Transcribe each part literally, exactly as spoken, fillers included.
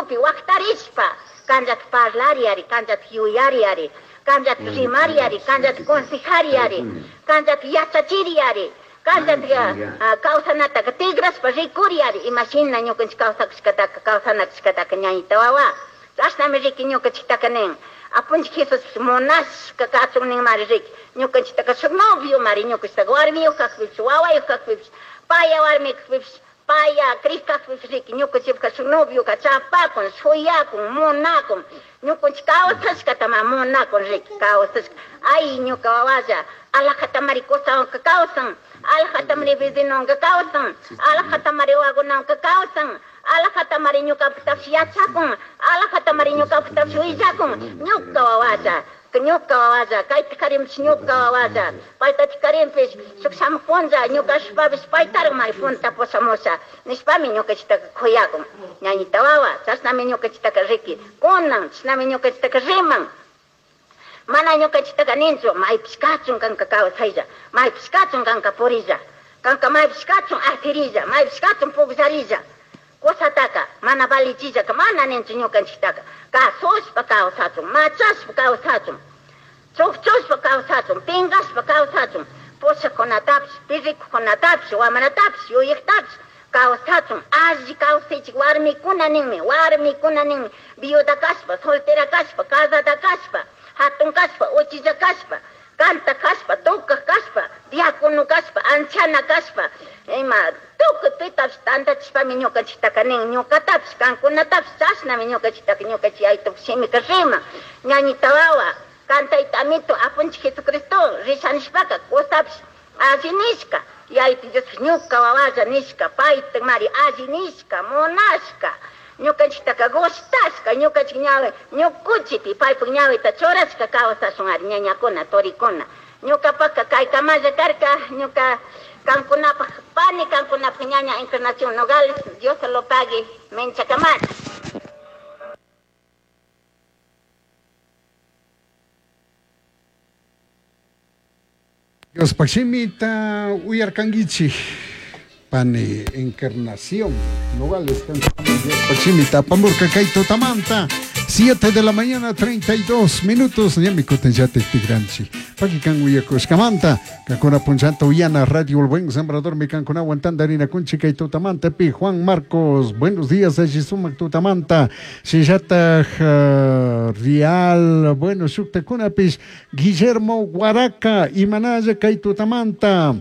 Ukupi waqtarishpa kanllata parlariari, kanllata yuyariari, kanllata rimariari, kanllata consejariari, kanllata yachachiriari, kanllata kawsanataka tigrashpa rikuriari, imashina ñukanchik kawsakushkataka kawsanachishkataka ñañita wawa. Chashnami riki ñukanchiktaka nin. Apunchik Jesús munashka kachun ninmari riki. Ñukanchiktaka shuk novio mari ñukanchiktaka warmiyuq kajpipish, wawayuq kajpipish, paya warmi kajpipish, paya crik kajpipish riki ñukanchikpaka shuk novioka chapakun, shuyakun, munakun. Ñukanchik kawsashkatama munakun riki, kawsashka. Ay ñuka wawalla, alajatamari kusawanka kawsan, alajatamari vecinowanka kawsan, alajatamari wawakunawanka kawsan, alajatamari ñukapuktapish yachakun, alajatamari ñukapuktapish willakun, ñuka wawalla, ñuka wawalla, kayta karinpish ñuka wawalla, paytatik karinpish shuk shamuj punlla ñuka ashpapish paytarakmari punta pushamusha nishpami ñukanchiktaka kuyakun. Ñañita wawa, chashnami ñukanchiktaka riki kunan, chashnami ñukanchiktaka riman. Mana ñukanchiktaka ninchu, maypish kachun kanka kawsaylla, maypish kachun kanka purilla, kanka maypish kachun asirilla, maypish kachun pukllarilla. Kusataka mana valichillaka mana ninchu ñukanchiktaka, kasushpa kawsachun, machashpa kawsachun, chukchushpa kawsachun, pinkashpa kawsachun, pushakkunatapish, pirrikukunatapish, wamratapish, yuyaktapish kawsachun, alli kawsaychik warmikuna ninmi, warmikuna ninmi, viuda kashpa, soltera kashpa, casada kashpa, hatun kashpa, uchilla kashpa, kanta kashpa, tukaj kashpa, diácono kashpa, anciana kashpa, ima tukuy pitapish tantachishpami ñukanchiktaka nin, ñukatapish, kankunatapish, chashnami ñukanchiktaka ñukanchik yayitupak shimika riman. Ñañita wawa, kantayta amito, apunchik Jesucristo, risha nishpaka, kusapish alli nishka, yayito Diospish ñuka wawalla nishka, payta mari alli nishka, munashka, ñukanchiktaka gustashka, ñukanchik ñawi, ñukuchipi paypak ñawita churashka kawsashun ari ñañakuna, turikuna. Ñukapaka kaykamalla karka, ñuka kankunapak pani, kankunapak ñaña Encarnación Nogales, Dios se lo pague, menchakamari. Dios shimita uyarkankichik, pani Encarnación Nogales, Dios shimita apamurka kay tutamanta, siete de la mañana, treinta y dos minutos, ñami kutinllatik tikranchik. Paki kan uyakushkamanta, kankuna punchanta uyana Radio El Buen Sembrador, mi kankunawan tantarina kunchik kay tutamanta, pi Juan Marcos, buenos días, alli sumak tutamanta, shinllataj, uh, Real, bueno, shuktakunapish, Guillermo Guaraca, imanalla kay tutamanta,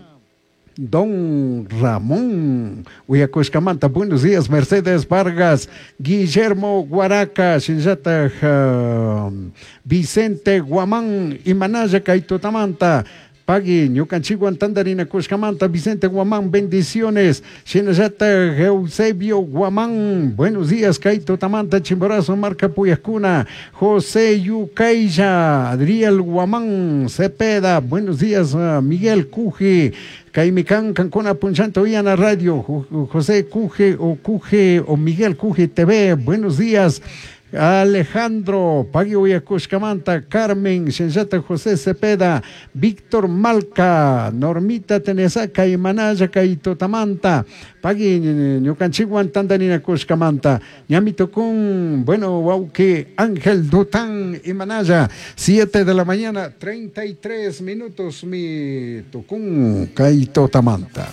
Don Ramón, uyakushkamanta, buenos días, Mercedes Vargas, Guillermo Guaraca, shinllataj, uh, Vicente Guamán, imanalla kay tutamanta, Pagui, ñukanchikwan tantarina kushkamanta, Vicente Guamán, bendiciones, shinallata Eusebio Guamán, buenos días, kay tutamanta, Chimborazo, marca Puyascuna, José Yucaya, Adriel Guamán, Cepeda, buenos días, uh, Miguel Cuje, Kaimikan, Cancuna, Punchanta, Uyana Radio, José Cuje o Cuje o Miguel Cuje T V, buenos días, Alejandro, Pagui Uyakushkamanta, Carmen, Shenshata José Cepeda, Víctor Malca, Normita Tenesaca y Manaya Kaitotamanta, Pagui Ñukanchikwan Tandarina Kushkamanta, Ñamito con, bueno, Wauke, Ángel Dután y Manaya, siete de la mañana, treinta y tres minutos, mi Tucún Kaitotamanta.